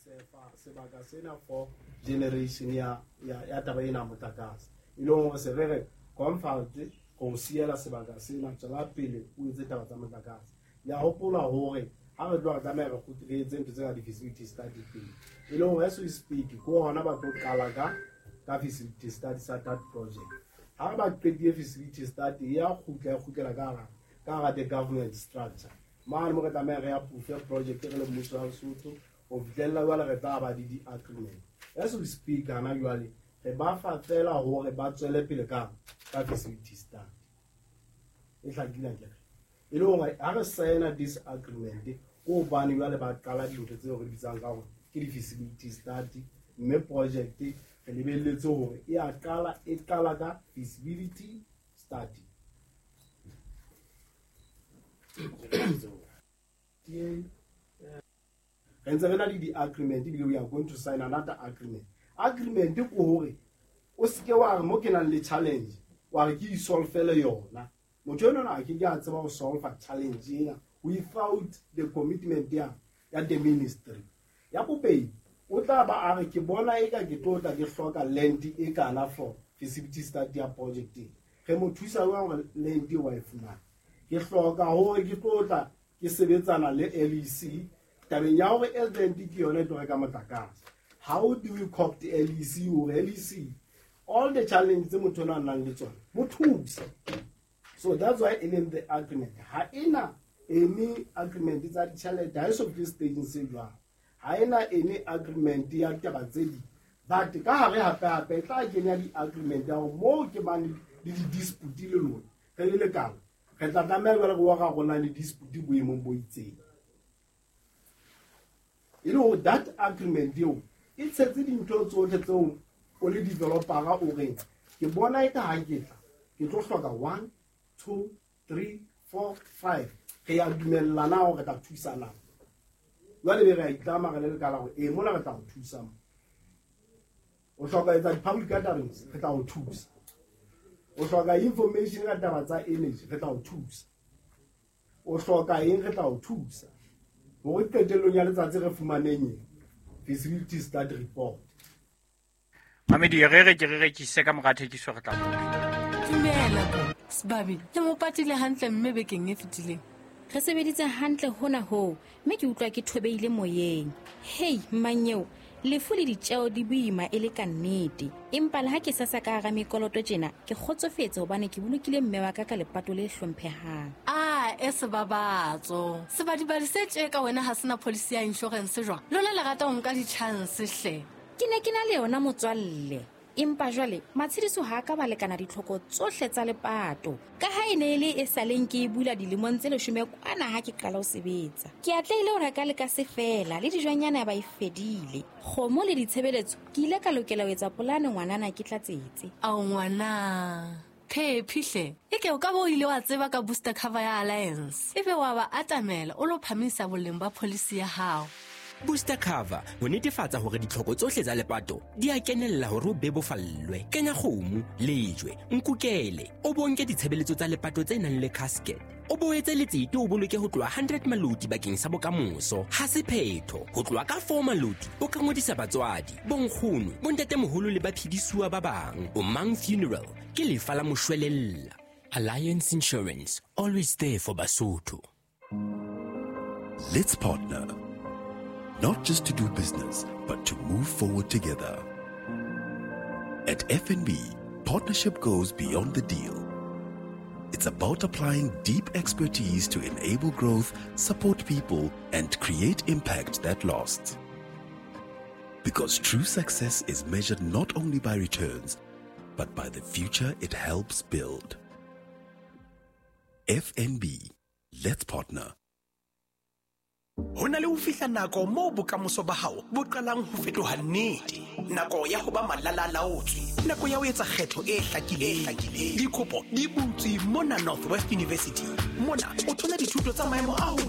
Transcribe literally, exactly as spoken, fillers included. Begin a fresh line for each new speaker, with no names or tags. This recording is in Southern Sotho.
Reserve sebaka sena for generation ya ya ya taba ena ya motlakase, e leng hore se re re comfort go siela sebaka sena, tswela pele o etse taba tsa motlakase. Ya hopola hore ha re tloha tlameha re kgutle re etse ntho tsena di-feasibility study pele, e leng hore as we speak ke hona ba tlo qala ka ka feasibility study sa that project. Ha ba qetile feasibility study, ya kgutla ya kgutlela ka hara ka hara the government structure mane mo re tlameha re approve project re le mmuso wa Lesotho. Ho fihlella jwale re tla ba le di-agreement. As we speak hana jwale re ba fa fela hore ba tswele pele ka ka feasibility study e hlakile akere, e le hore ha re signa this agreement ke hobane jwale ba qala dintho tseo re bitsang ka hore ke di-feasibility study, mme project re lebelletse hore e a qala e qala ka feasibility study. Re ntse re na le di-agreement, ebile we are going to sign another agreement. Agreement ke hore o seke wa re mo ke nang le challenge wa re ke isolvele yona. Motho enwana a ke ke a tseba ho solve challenge ena without the commitment ya ya the ministry. Ya bobedi, o tla ba a re ke bona eka ke tlo tla ke hloka land e kana for feasibility study ya project e. Re mo thusa jwang hore land e wa e fumana? Ke hloka hore ke tlo tla ke sebetsana le L E C tabeng ya hore land ke yona e tlo reka motlakase. How do we co-opt L E C hore L E C all the challenges tse motho ona a nang le tsona mo thuse? So that's why e leng the agreement. Ha ena any agreement tsa ditjhelete, ha e so fihle stageng se jwalo. Ha ena any agreement ya ditaba tse ding, but ka hare hape hape e tla kenya di-agreement ya hore moo ke bane le di-dispute le lona re le lekala, re tla tlameha jwale re wa rarollang le dispute boemong bo itseng. E le hore that agreement eo e tshetse dintho tsohle tseo o le developera o reng ke bona eka ha ke tla ke tlo hloka one, two, three, four, five. Re ya dumellana hore re tla thusana. Jwale be re a itlama re le lekala hore ee mona re tla o thusa mo. O hloka etsa di-public gatherings, re tla o thusa. O hloka information ka taba tsa energy, re tla o thusa. O hloka eng, re tla o thusa. Hore qetellong ya letsatsi re fumaneng eng? Feasibility study report.
Mamedi, re re ke re rekise ka mora thekiso re tla bua.
Dumela bo, Sebabi, le mo patile hantle mme bekeng e fetileng.
Re sebeditse hantle hona hoo, mme ke utlwa ke thobeile moyeng. Hei, mmanyeo, lefu le ditjeo di boima e le ka nnete. Empa le ha ke sasa ka hara mekoloto tjena, ke kgotsofetse hobane ke bolokile mme wa ka ka lepato le hlomphehang.
Ah, e sebabatso. Sebadibadi se tje ka wena ha sena policy ya insurance jwang? Lona le rata ho nka di-chance hle.
Ke ne ke na le yona motswalle. Empa jwale matshediso ha ka ba lekana ditlhoko tsohle tsa lepato. Ka ha e ne e le e saleng ke e bula dilemong tse leshome kwana ha ke qala ho sebetsa. Ke atlehile ho reka le ka se fela le dijonyana ya ba e fedile. Kgomo le ditshebeletso ke ile ka lokela ho etsa polane ngwanana ke tlatsetse.
Ao ngwana. Phephi hle. Eke o ka bo ile wa tseba ka booster cover ya Alliance. Ebe wa ba atamela o lo phamisa boleng ba policy ya hao.
Booster cover ho netefatsa hore ditlhoko tsohle tsa lepato di a kenella hore o bebofallwe. Kenya kgomo, lejwe, nkukele, o bonke ditshebeletso tsa lepato tse nang le casket. O boetse letsete o boloke ho tloha hundred maloti bakeng sa bokamoso. Ha se phetho, ho tloha ka four maloti o ka ngodisa batswadi, bonkgono, bontatemoholo le baphedisuwa ba bang. O Mang Funeral ke lefa la moshwelella. Alliance Insurance, always there for Basotho.
Let's partner. Not just to do business, but to move forward together. At F N B, partnership goes beyond the deal. It's about applying deep expertise to enable growth, support people, and create impact that lasts. Because true success is measured not only by returns, but by the future it helps build. F N B, let's partner.
Ho na le ho fihla nako moo bokamoso ba hao bo qalang ho fetoha nnete. Nako ya ho ba malalalaotswe, nako ya ho etsa kgetho e hlakileng. Dikopo di butswe mona Northwest University. Mona o thola dithuto tsa maemo a hodimo.